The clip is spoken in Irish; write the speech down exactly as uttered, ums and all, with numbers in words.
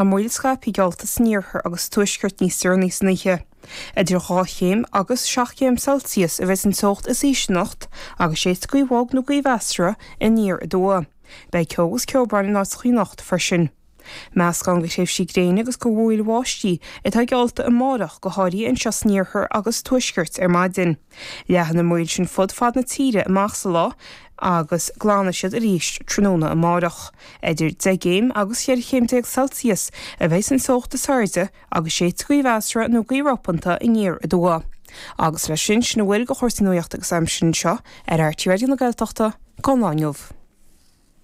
Tá múraíl scaipthe geallta san iarthar agus sa tuaisceart níos deireanaí san oíche. Idir dhá chéim agus seacht gcéim Celsius a bheidh an teocht is ísle anocht agus séidfidh gaoth bhog nó gaoth mheasartha aniar aduaidh. Beidh ceo agus ceobhrán in áiteachaí anocht freisin. Meascán de thréimhsí gréine agus de mhúraíl bháistí atá geallta amárach, go háirithe anseo san iarthar agus sa tuaisceart ar maidin. Leathfaidh na múraíl sin fud fad na tíre amach sa lá agus glanfaidh siad arís tráthnóna amárach. Idir deich gcéim agus cheithre chéim déag Celsius a bheidh an teocht is airde agus séidfidh gaoth mheasartha nó gaoth ropanta aniar aduaidh. Agus leis sin, sin a bhfuil de chúrsaí nuachta agus aimsire anseo ar RTÉ Raidió na Gaeltachta don lá inniu.